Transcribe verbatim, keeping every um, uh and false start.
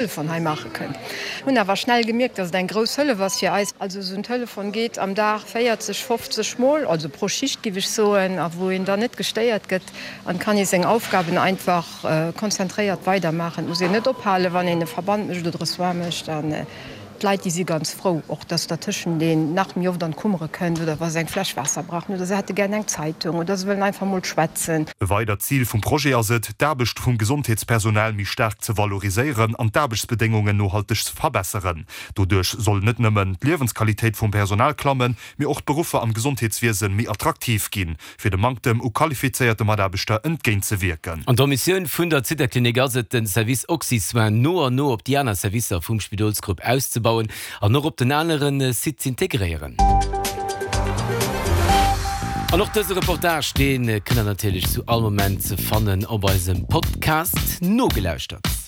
Telefon hei maache kënnt. Hunn awer schnell gemierkt, dass et eng grouss Hëllef ass fir eis. Also esou en Telefon geet am Dag véierzeg, fofzeg Mol, also pro Schicht giff ech soen, a wou een dann net gestéiert gëtt an kann ee seng Aufgaben einfach konzentréiert weidermaachen. Et muss een net ophalen, wann een e Verband mécht oder e Soin mécht. An d'Leit, déi si ganz frou och, dass dertëschent een nach méi oft an d'Kummere kënnt oder wa se eng Fläsch Waasser brauchen oder se hätte gär eng Zeitung oder se wëllen einfach mol schwätzen. E weidert Zil vum Projet ass et, d'Aarbecht vum Gesondheetspersonal méi staark ze valoriséieren an d'Aarbechtsbedéngungen nohalteg ze verbesseren. Doduerch soll net nëmmen d'Liewensqualitéit vum Personal klammen, mee och d'Beruffer am Gesondheetswiese méi attraktiv ginn, fir dem Manktem u qualifizéierte Mataarbechter entgéintzewierken. An d'Missioun vun der Zittaklinik ass et, den Service Oxysoins no an no op déi aner Servicer vum Spidolsgrupp auszebauen an och op den anere Site z'integréieren. An och dëse Reportage, dee kënnt der natierlech zu all Moment ze fannen op eisem Podcast. Nogelauschtert.